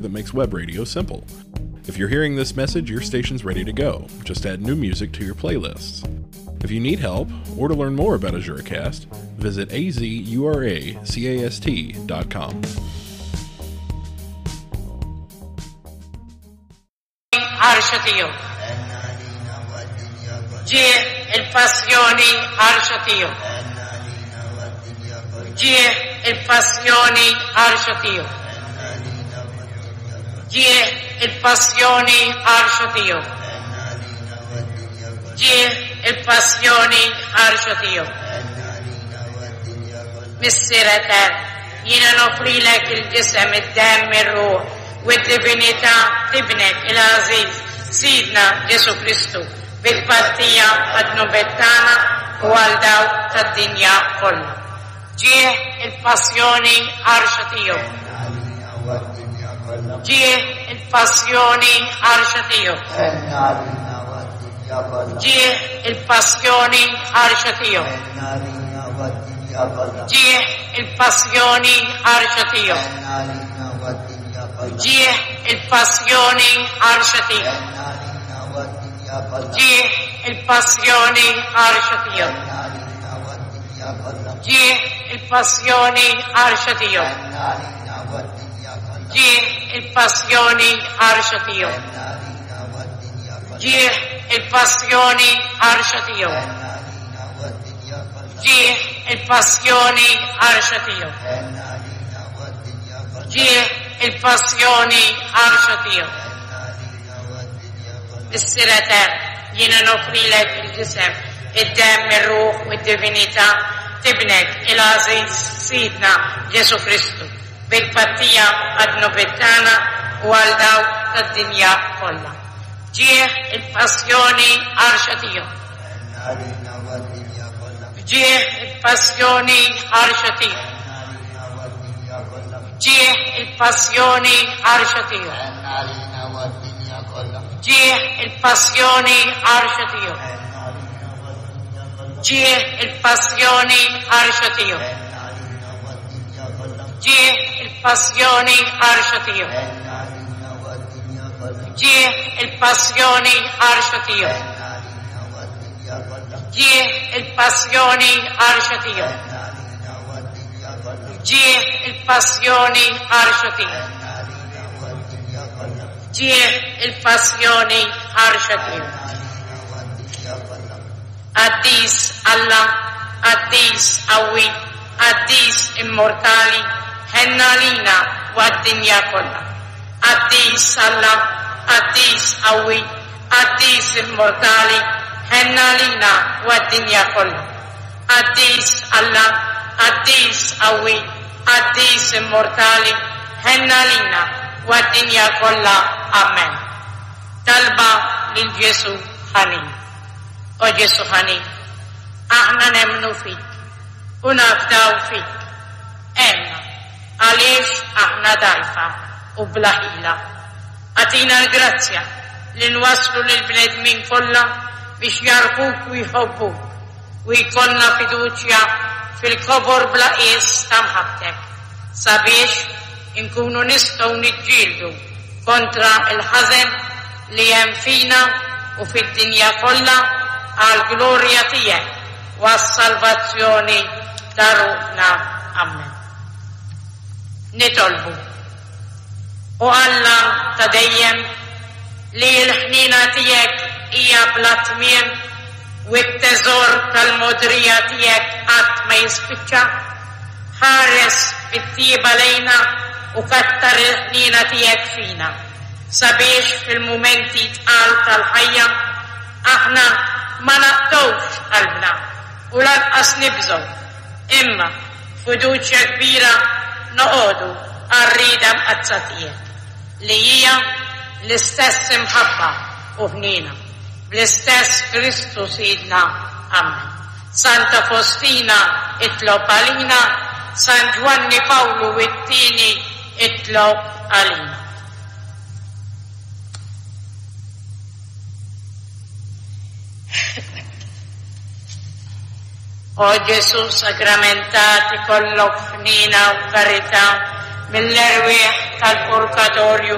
that makes web radio simple. If you're hearing this message, your station's ready to go. Just add new music to your playlists. If you need help or to learn more about AzuraCast, visit azuracast.com. Ħarxa tiegħu. Ġieħ il-passjoni ħarxa tiegħu. Ġieħ il-passjoni ħarxa tiegħu. Ġieħ il-passjoni ħarxa tiegħu. Ġieħ il-passjoni ħarxa tiegħu. Missier Etern, jiena noffrilek il-ġisem, id-demm, ir-ruħ u d-divinità t'Ibnek il-għażiż, Sidna Ġesù Kristu, bi tpattija għad-dnubiet tagħna u għal dawk tad-dinja kollha. Ġieħ il-passjoni ħarxa tiegħu. Ġieħ il-passjoni ħarxa tiegħu. Ġieħ il-passjoni ħarxa tiegħu. Ġieħ il-passjoni ħarxa tiegħu. Ġieħ il-passjoni ħarxa tiegħu. Ġieħ il-passjoni ħarxa tiegħu. Ġieħ il-passjoni ħarxa tiegħu. Ġieħ il-passjoni ħarxa tiegħu. Ġieħ il-passjoni ħarxa tiegħu. Ġieħ il-passjoni ħarxa tiegħu. Ġieħ il-passjoni ħarxa tiegħu. Missier Etern, jiena noffrilek il-ġisem, id-demm, ir-ruħ u d-divinità t'Ibnek il-għażiż Sidna Ġesù Kristu, bi tpattija għad-dnubiet tagħna u għal dawk tad-dinja kollha. F'ġieħ il-passjoni ħarxa tiegħu. F'ġieħ il-passjoni ħarxa tiegħu. F'ġieħ il-passjoni ħarxa tiegħu. F'ġieħ il-passjoni ħarxa tiegħu. F'ġieħ il-passjoni ħarxa tiegħu. F'ġieħ il-passjoni ħarxa tiegħu. F'ġieħ il-passjoni ħarxa tiegħu. F'ġieħ il-passjoni ħarxa tiegħu. F'ġieħ il-passjoni ħarxa tiegħu. F'ġieħ il-passjoni ħarxa tiegħu. Qaddis Alla, qaddis qawwi, qaddis immortali, ħenn għalina u għad-dinja kollha. Qaddis Alla, qaddis qawwi, qaddis immortali, ħenn għalina u għad-dinja kollha. Qaddis Alla, qaddis qawwi, qaddis immortali, ħenn għalina u għad-dinja kollha. Amen. Talba lil Ġesù ħanin. O Ġesù ħanin, aħna nemmnu fik u nafdaw fik. Għenna, għaliex aħna dgħajfa u bla ħila. Agħtina l-grazzja li nwasslu lill-bnedmin kollha biex jagħrfuk u jħobbuk u jkollna fiduċja fil-kobor bla qies ta' mħabbtek, sabiex inkunu nistgħu niġġieldu kontra l-ħażen li hemm fina u fid-dinja kollha għall-glorja tiegħek u għas-salvazzjoni ta' ruħna. Ammen. Nitolbu. O Alla ta' dejjem, li l-ħniena tiegħek hija bla tmiem u t-teżor tal-mogħdrija tiegħek qatt ma jispiċċa, ħares bit-tjieba lejna u kattar il-ħniena tiegħek fina, sabiex fil-mumenti tqal tal-ħajja aħna ma naqtgħux qalbna u lanqas nibżgħu, imma b'fiduċja kbira noqogħdu għar-rieda mqaddsa tiegħek, li hija l-istess imħabba u ħniena, bl-istess Kristu Sidna. Ammen. Santa Fostina itlob għalina, San Ġwanni Pawlu it-Tieni itlob għalina. O Ġesù sagramentat ikollok ħniena u karità. mill-erwieħ tal-purgatorju.